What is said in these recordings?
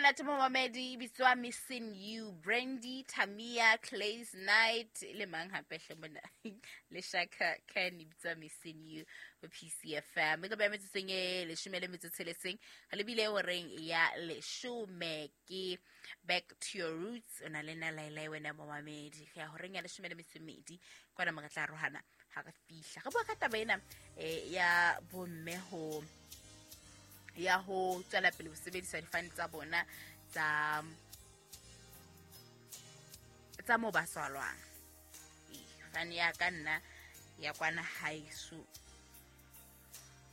Monate momamedi, e bitswa Missing You, Brandy, Tamia, Clays Night le mang hape hle mona le Shaka Khan, e bitswa Missing You ho PCFM. E tlo beha metsotsong e 16, re lebile horeng ya 10. Ke Back to Your Roots, o na le nna Laelae wena momamedi. Re ya horeng ya 12 kwana mo re tla arohana ha re fihla. Re bua ka taba ena ya bomme ho ya ho tswela pele ho sebedisa difane tsa bona tsa moo ba tswalwang. Fane ya ka nna ya kwana haeso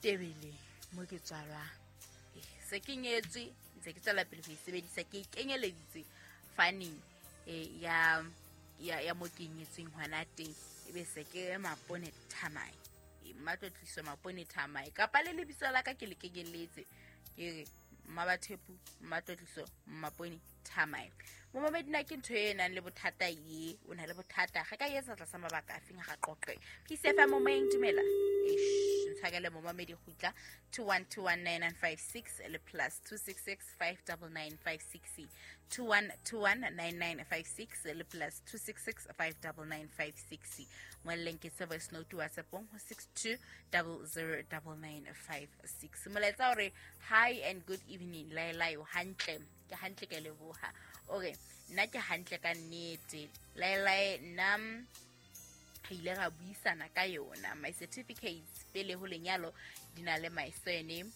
Tebeleng mo ke tswalwang, se ke nyetswe, ntse ke tswela pele ho e sebedisa. Ke e kenyeleditse faneng ya mo ke nyetsweng hona teng, ebe se ke Mapone Thamae, Mmatlotliso Mapone Thamae, kapa le lebitso la ka ke le kenyelletse, ke re Mmabathepu Mmatlotliso Mapone Thamae. Momamedi, na ke ntho e nang le bothata ye? O na le bothata ge ka etsa tlasa mabaka a feng? Ga qoqe PCFM momoyeng. Dumela. Eish, ntshwakele momamedi, kgutla. 21219956 le +266 59956, 21219956 le +266 59956. Ngwaleleng ke se voice note WhatsAppong ho 62 009956. Molaetsa hore hi and good evening Laelae, o hantle? Ke hantle, ke leboha. O re nna ke hantle ka nnete Laelae. Nna re ile ra buisana ka yona. My certificates pele ho lenyalo di na le my surname,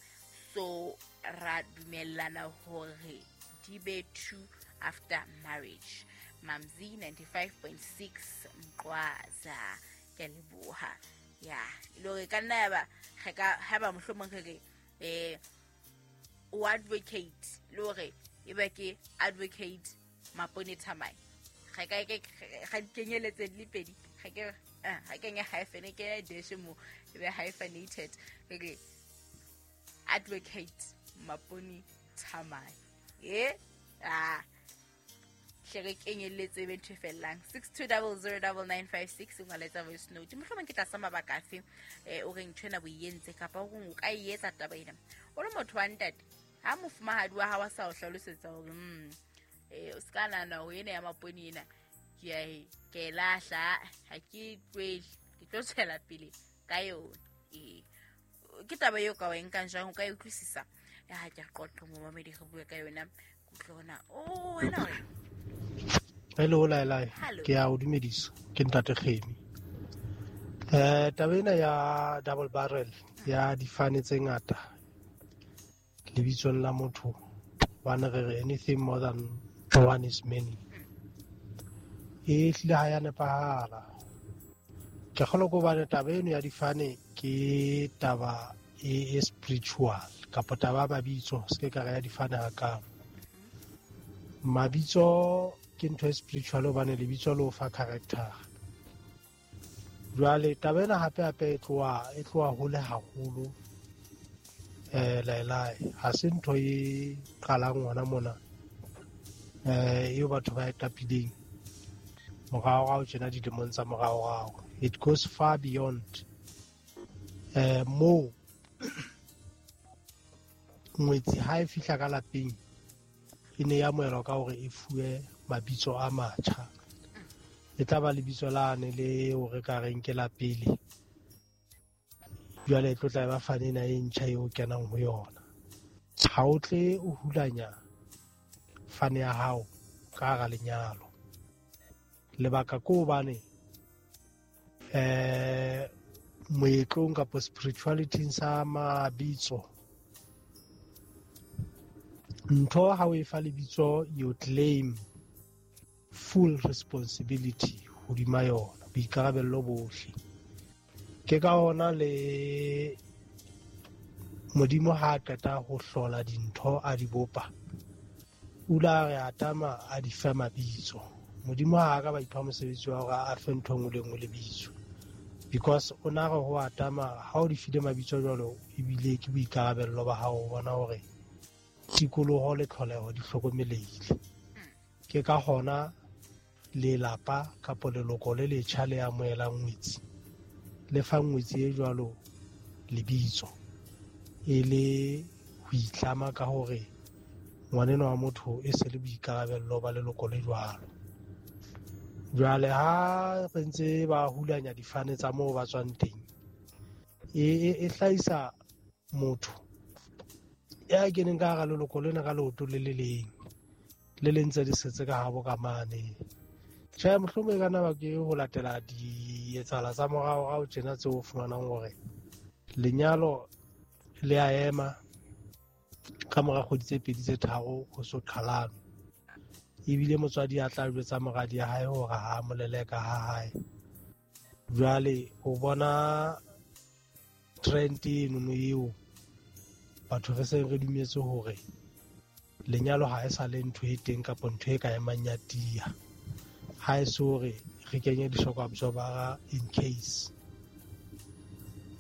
so ra dumellana hore di be two after marriage. Mamzi 95.6 Mqwaza, ke leboha. Ya e le hore ka nna yaba re ka haeba mohlomong re re o advocate le hore e be ke Advocate Mapone Thamae, ga ka ke ga di kenyeletse di le pedi, ga ke ga kenye hyphen, e kenye dash mo, e be hyphenated, re re Advocate Mapone Thamae. E ah hle re kenyelletse e be ntho e fellang. 62009956, ngwaletsa voice note. Mohlomong ke tlasa mabaka afe o reng ntho ena bo e entse, kapa o reng o ka e etsa taba ena o le motho wa ntate, ha mofumahadi wa hao a sa o hlalosetsa hore o se ka nahana hore ena ya Mapone ena ke a e ke e lahla, ha ke e tlohele, ke tlo tswela pele ka yona. Ee, ke taba eo ka wa e nkang jwang? O ka e utlwisisa? Ya ha ke re qoqe momamedi, re bue ka yona. Kutlwe hona o wena o Hello Laelae. Hello. Ke a o dumedisa, ke ntate Kgemi. Taba ena ya double barrel ya difane tse ngata lebitsong la motho, bane re re anything more than one is many, e hlile ha ya nepahala. Ke kgolwa ke hobane taba eno ya difane ke taba e spiritual, kapa taba ya mabitso, se ke ka re ya difane hakalo. Mabitso ke ntho e spiritual, hobane lebitso le o fa character. Jwale taba ena hape hape e tloha hole haholo. Laelae, ha se ntho e qalang hona mona, eo batho ba e qapileng moraorao tjena, dilemong tsa moraorao. It goes far beyond moo ngwetsi ha e fihla ka lapeng e ne e amohelwa ka hore e fuwe mabitso a matjha. E tla ba lebitso lane le o re ka reng ke la pele, jwale e tlo tla e ba fane ena e ntjha eo kenang ho yona. Ha o tle o hulanya fane ya hao ka hara lenyalo. Lebaka ke hobane moetlong kapa spirituality sa mabitso, ntho ha o e fa lebitso, you claim full responsibility hodima yona, boikarabello bohle. Ke ka hona le Modimo ha a qeta ho hlola dintho, a di bopa, o ile a re Atama a di fe mabitso. Modimo ha a ka ba ipha mosebetsi wa hore a fe ntho e nngwe le nngwe lebitso, because o na re ho Atama, ha o di file mabitso jwalo, ebile ke boikarabello ba hao ho bona hore tikoloho le tlholeho di hlokomelehile. Ke ka hona lelapa kapa leloko le letjha le amohelang ngwetsi le fa ngwetsi e jwalo lebitso, e le ho itlama ka hore Ngwanenwa wa motho e se le boikarabello ba leloko le jwalo. Jwale ha re ntse ba hulanya difane tsa moo ba tswang teng, e hlahisa motho ya keneng ka hara leloko lena ka leoto le le leng, le le ntse le setse ka habo ka mane. Tjhe, mohlomong e ka nna ba ke ho latela dietsahala tsa moraorao tjena tseo o fumanang hore lenyalo le a ema ka mora kgwedi tse pedi tse tharo ho so qhalanwe. Ebile motswadi a tla jwetsa moradi ya hae hore ha a mo leleka ha hae. Jwale o bona trend enono eo batho re seng re dumetse hore lenyalo ha e sa le ntho e teng kapa ntho e ka emang ya tiya. Ha e se hore re kenye di-shock absorber in case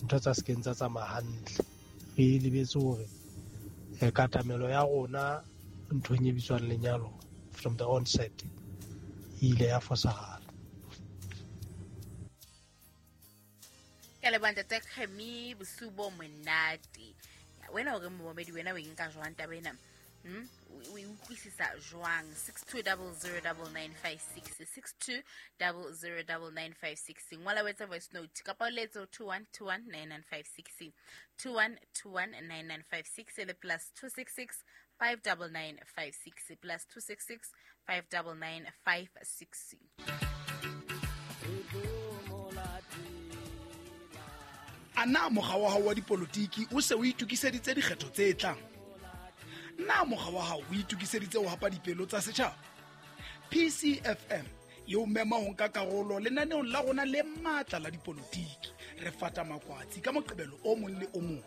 ntho tsa sekeng tsa tsamaya hantle. Re lebetse hore katamelo ya rona nthong e bitswang lenyalo from the onset e ile ya fosahala. Ke leboha ntate Kgemi, bosiu bo monate. Wena o re momamedi, wena o e nka jwang taba ena? O e utlwisisa jwang? 62009956, 62009956. Ngola o etse voice note kapa o letse ho 21219956, 21219956 le +266 59956, +266 59956. A na mokga wa hao wa dipolotiki o se o itokiseditse dikgetho tse tlang? Na mokga wa hao o itokiseditse ho hapa dipelo tsa setjhaba? PCFM e o mema ho nka karolo lenaneong la rona le matla la dipolotiki. Re fata makwatsi ka Moqebelo o mong le o mong.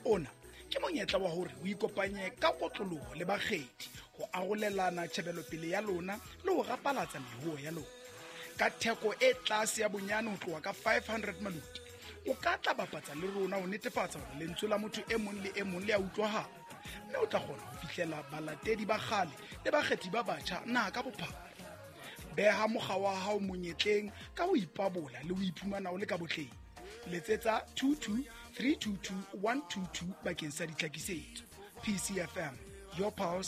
Ona ke monyetla wa hore o ikopanye ka kotloloho le bakgethi ho arolelana tjhebelopele ya lona le ho rapalatsa mehuo ya lona. Ka theko e tlase ya bonyane ho tloha ka 500 maluti, o ka tla bapatsa le rona ho netefatsa hore lentswe la motho e mong le e mong le a utlwahala, mme o tla kgona ho fihlela balatedi ba kgale le bakgethi ba batjha naha ka bophara. Beha mokga wa hao monyetleng ka ho ipabola le ho iphumana o le ka botleng. Letsetsa 22 322 122 bakeng sa ditlhakisetso. PCFM, your pulse.